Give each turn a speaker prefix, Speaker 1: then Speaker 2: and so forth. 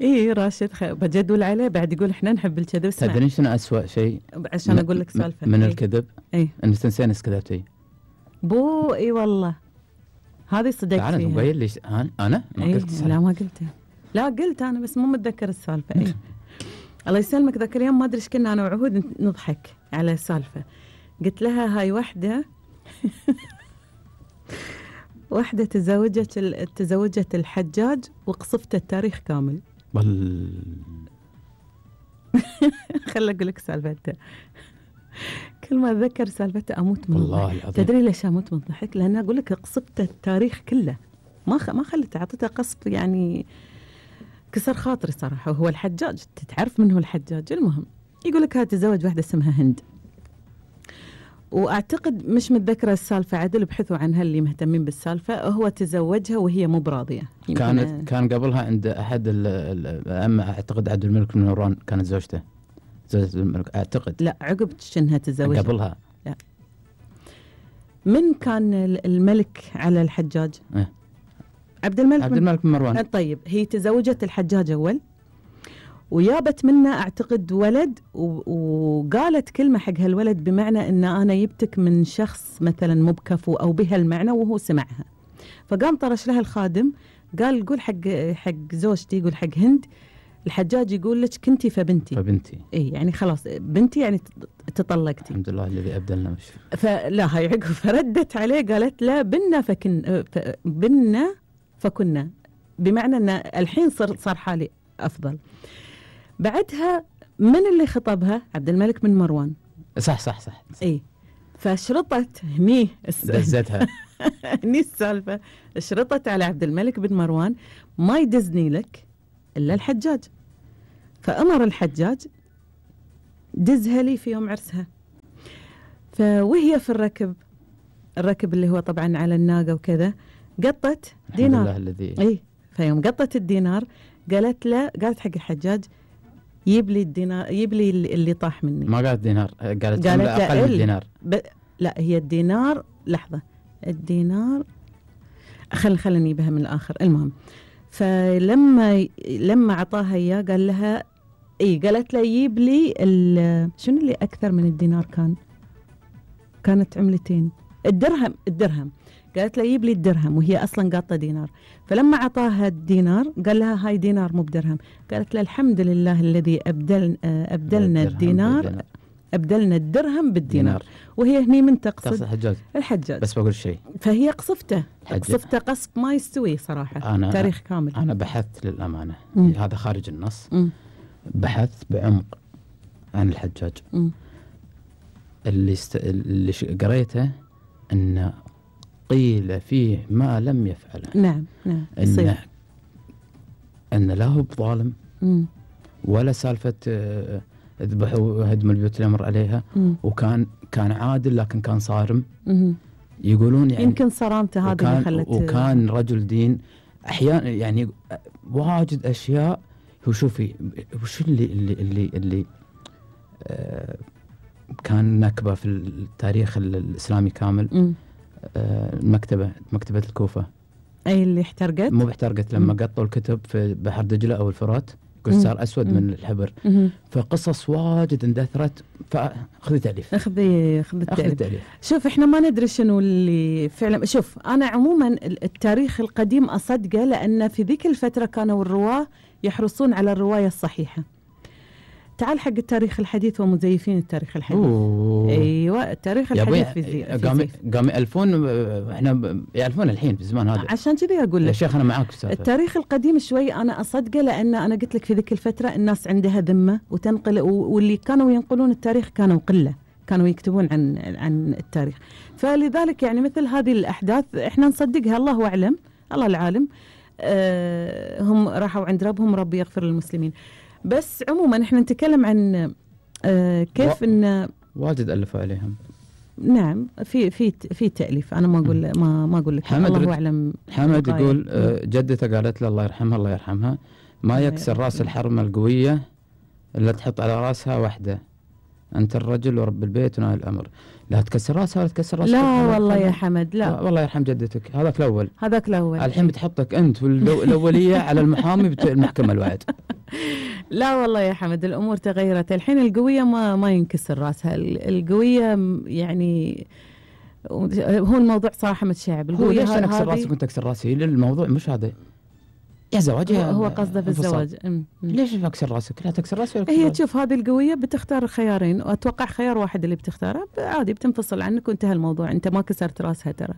Speaker 1: اي راشد بجدول عليه بعد يقول احنا نحب الكذب.
Speaker 2: تدرين شنو أسوأ شيء
Speaker 1: عشان اقول لك سالفه
Speaker 2: من الكذب؟
Speaker 1: اي
Speaker 2: انك تنسين ايش كذبتي.
Speaker 1: بو اي والله هذه صدقت فيها.
Speaker 2: تعال تبين لي انا ما قلت
Speaker 1: صح. لا ما قلتها. لا قلت انا بس مو متذكر السالفه. اي الله يسلمك. ذاك اليوم ما ادري ايش كنا انا وعهود نضحك على السالفه. قلت لها هاي وحده واحدة تزوجت الحجاج وقصفت التاريخ كامل. خل أقول لك سالفته. كل ما أتذكر سالفته أموت من الضحك. تدري ليش أموت من الضحك؟ لأن أقول لك قصفت التاريخ كله. ما خلت أعطيته قصف يعني كسر خاطري صراحة. وهو الحجاج تتعرف من هو الحجاج. المهم يقول لك هاي تزوج واحدة اسمها هند. وأعتقد مش متذكرة السالفة عدل. ابحثوا عنها اللي مهتمين بالسالفة. هو تزوجها وهي مو براضية.
Speaker 2: كان قبلها عند أحد الأئمة أعتقد عبد الملك بن مروان كانت زوجته الملك أعتقد.
Speaker 1: لا عقب شنها تزوجها
Speaker 2: قبلها.
Speaker 1: لا. من كان الملك على الحجاج؟ عبد الملك
Speaker 2: بن مروان.
Speaker 1: طيب هي تزوجت الحجاج أول ويابت منه أعتقد ولد وقالت كلمة حق هالولد بمعنى إن أنا يبتك من شخص مثلا مو بكفو أو بهالمعنى وهو سمعها. فقام طرش لها الخادم قال قول حق زوجتي قول حق هند الحجاج يقول لك كنتي فبنتي. إيه يعني خلاص بنتي يعني تطلقتي.
Speaker 2: الحمد لله الذي أبدلنا مش.
Speaker 1: فلا هاي عقب فردت عليه قالت لا بنا فكنا بمعنى إن الحين صار حالي أفضل. بعدها من اللي خطبها؟ عبد الملك بن مروان.
Speaker 2: صح.
Speaker 1: اي فشرطت هني
Speaker 2: دزتها
Speaker 1: هني السالفة. شرطت على عبد الملك بن مروان ما يدزني لك إلا الحجاج. فأمر الحجاج دزها لي في يوم عرسها. وهي في الركب اللي هو طبعا على الناقة وكذا قطت دينار.
Speaker 2: الحمد لله الذي.
Speaker 1: اي فيوم قطت الدينار قالت حق الحجاج يجيب لي الدينار يجيب لي اللي طاح مني.
Speaker 2: ما قالت دينار قالت أقل من الدينار.
Speaker 1: لا هي الدينار لحظة الدينار خلينا نجيبها من الآخر. المهم فلما عطاها إياه قال لها قالت له يجيب لي شنو اللي أكثر من الدينار كانت عملتين. الدرهم قالت له يجيب لي الدرهم وهي أصلا قاطة دينار. فلما عطاها الدينار قال لها هاي دينار مو بدرهم. قالت له الحمد لله الذي أبدلنا الدينار أبدلنا الدرهم بالدينار. وهي هني من تقصد الحجاج.
Speaker 2: بس بقول شيء.
Speaker 1: فهي قصفته قصف ما يستوي صراحة. تاريخ كامل.
Speaker 2: أنا بحثت للأمانة. هذا خارج النص. بحثت بعمق عن الحجاج. اللي قريته أن قيل فيه ما لم يفعله.
Speaker 1: نعم
Speaker 2: أن لا هو بظالم ولا سالفة اذبحوا وهدموا البيوت اللي مر عليها. وكان عادل لكن كان صارم. يقولون يعني
Speaker 1: يمكن صرامته هذه اللي خلته.
Speaker 2: وكان رجل دين أحيانا يعني واجد أشياء. هو شوفي وش اللي كان نكبة في التاريخ الإسلامي كامل. مكتبة الكوفة
Speaker 1: أي اللي احترقت.
Speaker 2: مو احترقت لما قطوا الكتب في بحر دجلة أو الفرات يقول صار أسود من الحبر. فقصص واجد اندثرت. فخذي تأليف.
Speaker 1: خذي التأليف. شوف احنا ما ندري شنو اللي فعلا. شوف أنا عموما التاريخ القديم أصدقه لأن في ذيك الفترة كانوا الرواة يحرصون على الرواية الصحيحة. تعال حق التاريخ الحديث ومزيفين التاريخ الحديث. ايوه التاريخ الحديث في
Speaker 2: قام يألفون. احنا يألفون الحين في الزمان هذا.
Speaker 1: عشان كذي اقول لك
Speaker 2: يا شيخ انا معاك في
Speaker 1: التاريخ القديم شوي انا اصدقه لان انا قلت لك في ذيك الفتره الناس عندها ذمه وتنقل واللي كانوا ينقلون التاريخ كانوا قله كانوا يكتبون عن التاريخ. فلذلك يعني مثل هذه الاحداث احنا نصدقها. الله اعلم الله العالم. هم راحوا عند ربهم ربي يغفر للمسلمين. بس عموما احنا نتكلم عن كيف ان
Speaker 2: واجد ألفوا عليهم.
Speaker 1: نعم في تأليف. انا ما اقول لك الله اعلم.
Speaker 2: حمد يقول جدته قالت له الله يرحمها الله يرحمها ما يكسر راس الحرمة القوية الا تحط على راسها واحدة. انت الرجل ورب البيت ونهاية الامر. لا تكسر راسها ولا تكسر راسك.
Speaker 1: لا والله يا حمد لا.
Speaker 2: والله يرحم جدتك. هذاك الاول. الحين بتحطك انت والاوليه على المحامي المحكمه الوعد.
Speaker 1: لا والله يا حمد الامور تغيرت الحين. القويه ما ينكسر راسها. القويه يعني هو الموضوع صراحه متشعب.
Speaker 2: القويه ليش انا اكسر راسك وانت تكسر راسي؟ الموضوع مش هذا يا زواج.
Speaker 1: هو قصده في الزواج.
Speaker 2: ليش اكسر راسك؟ لا تكسر راسك.
Speaker 1: هي تشوف هذه القويه بتختار خيارين واتوقع خيار واحد اللي بتختاره عادي بتنفصل عنك وانتهى الموضوع. انت ما كسرت راسها ترى.